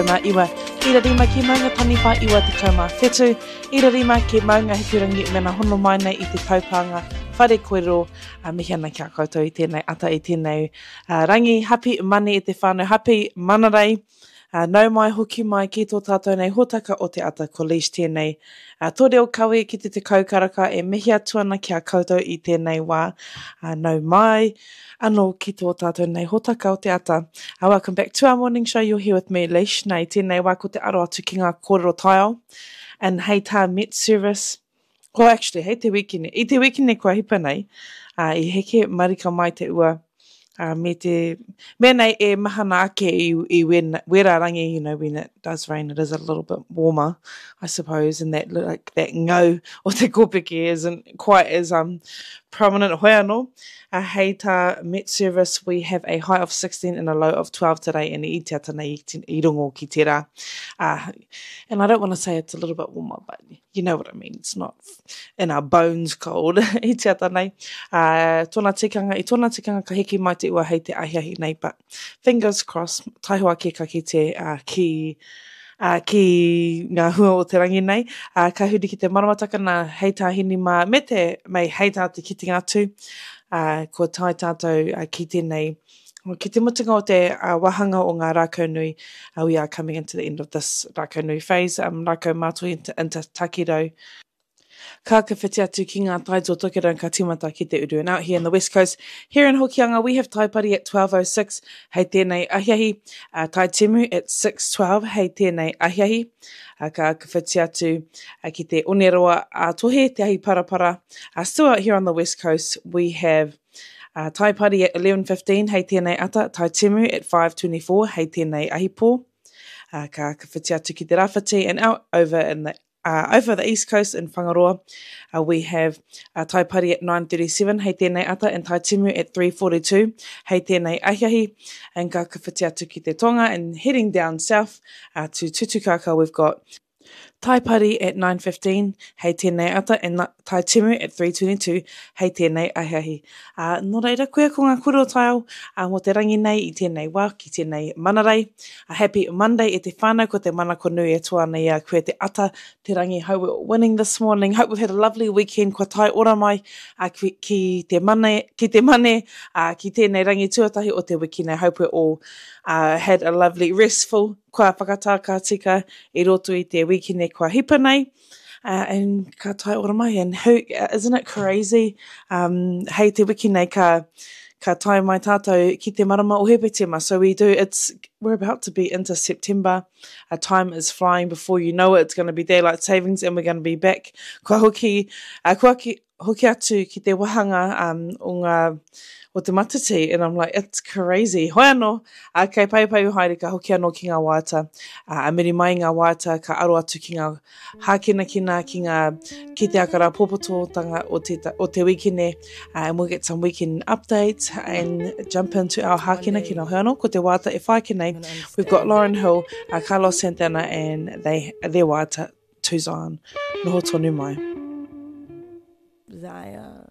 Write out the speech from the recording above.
99 ira 5 ki Maunga Taniwha 97 ira 5 ki Maunga Hikurangi mena hono mai nei i te taupānga whare koero a mihi ana ki a koutou i tēnei ata i tēnei rangi hapi mani e te whānau hapi manarei Ā, nau mai hoki mai ki tō tātou nei hōtaka o te ata ko Leish tēnei. Ā, tō reo kawe ki te 10 karaka e mihi atu ana ki a koutou i tēnei wā. Ā, nau mai anō ki tō tātou nei hōtaka o te ata. Ā, welcome back to our morning show, you're here with me Leish. Nā, i tēnei wā ko te aro atu ki ngā kōrero taiao and hei tā Met Service, well actually hei te wikine, i te wikine kua hipa nei, ā, i heke marika mai te ua, ā, me te, mea nei e mahana ake i, i wen, wera rangi, you know, when it does rain, it is a little bit warmer, I suppose, and that, like, that ngau o te kōpeke isn't quite as um, prominent hoi anō. Uh, hei tā Met Service, we have a high of 16 and a low of 12 today, and i te ata nei i, i rongo ki tērā. Uh, and I don't want to say it's a little bit warmer, but you know what I mean, it's not in our bones cold i te ata nei. Uh, tōna tikanga, i tōna tikanga ka hiki mai te ua hei te ahiahi nei, but fingers crossed, taihoa ke ka kite uh, ki uh, ki ngā hua o te rangi nei. Uh, ka huri ki te maramataka nā hei tā hini mā, me te mei hei tā te kitenga atu, uh, kua tae tātou uh, ki tēnei Ki te mutunga o te uh, wāhanga o ngā rākau nui, uh, we are coming into the end of this rākau nui phase, um, rākau mātoi into, into takirau. Ka ka whiti atu ki ngā tai o Tokerau ka tīmata ki te uru. And out here in the west coast, here in Hokianga, we have Taipari at 12.06 hei tēnei ahiahi, uh, Taitimu at 6.12 hei tēnei ahiahi. Uh, ka ka whiti atu uh, ki te Oneroa a Tohe, te ahi parapara. Uh, still out here on the west coast, we have Uh, Taipari at 11.15 hei tēnei ata, Taitimu at 5.24 hei tēnei ahipō. Uh, ka, ka whiti atu ki te rāwhiti and out over in the uh, over the east coast in Whangaroa, uh, we have uh, Taipari at 9.37 hei tēnei ata and Taitimu at 3.42 hei tēnei ahiahi. And ka, ka whiti atu ki te tonga and heading down south uh, to Tutukaka we've got Taipari at 9.15 hei tēnei ata and Taitimu at 3.22 hei tēnei ahiahi. Ā, nō reira, koia ko ngā kōrero taiao ā, mō te rangi nei i tēnei wā ki tēnei manarei. A happy Monday e te whānau, ko te manako nui e toa ana i a koe te ata, te rangi, hope we're winning this morning, hope we've had a lovely weekend, kua tae ora mai ā, ki, ki te mane, ki te mane, ā, ki tēnei rangi tuatahi o te wiki nei, hope we're all uh, had a lovely restful Kua whakatā ka tika i roto i te wikine kua hipa nei, uh, and ka tae ora mai. And who, isn't it crazy? Um, hei te wiki nei ka, ka tae mai tātou ki te marama o Hepetema. So we do, it's, we're about to be into September. Uh, time is flying before you know it. It's going to be daylight savings and we're going to be back. Kua hoki, uh, kua ki, hoki atu ki te wahanga um, o ngā o te matatī and I'm like it's crazy. Hoi anō, uh, kei pai pai haere ka hoki anō ki ngā waiata. Uh, a muri mai i ngā waiata ka aro atu ki ngā hākinakina, ki ngā ki te aka rāpopototanga o te, o te wikene uh, and we'll get some weekend updates and jump into our hākinakina. Hoi anō, ko te waiata e whai ake nei, we've got Lauryn Hill, uh, Carlos Santana and they, their waiata to Zion. Noho tonu mai. Zion.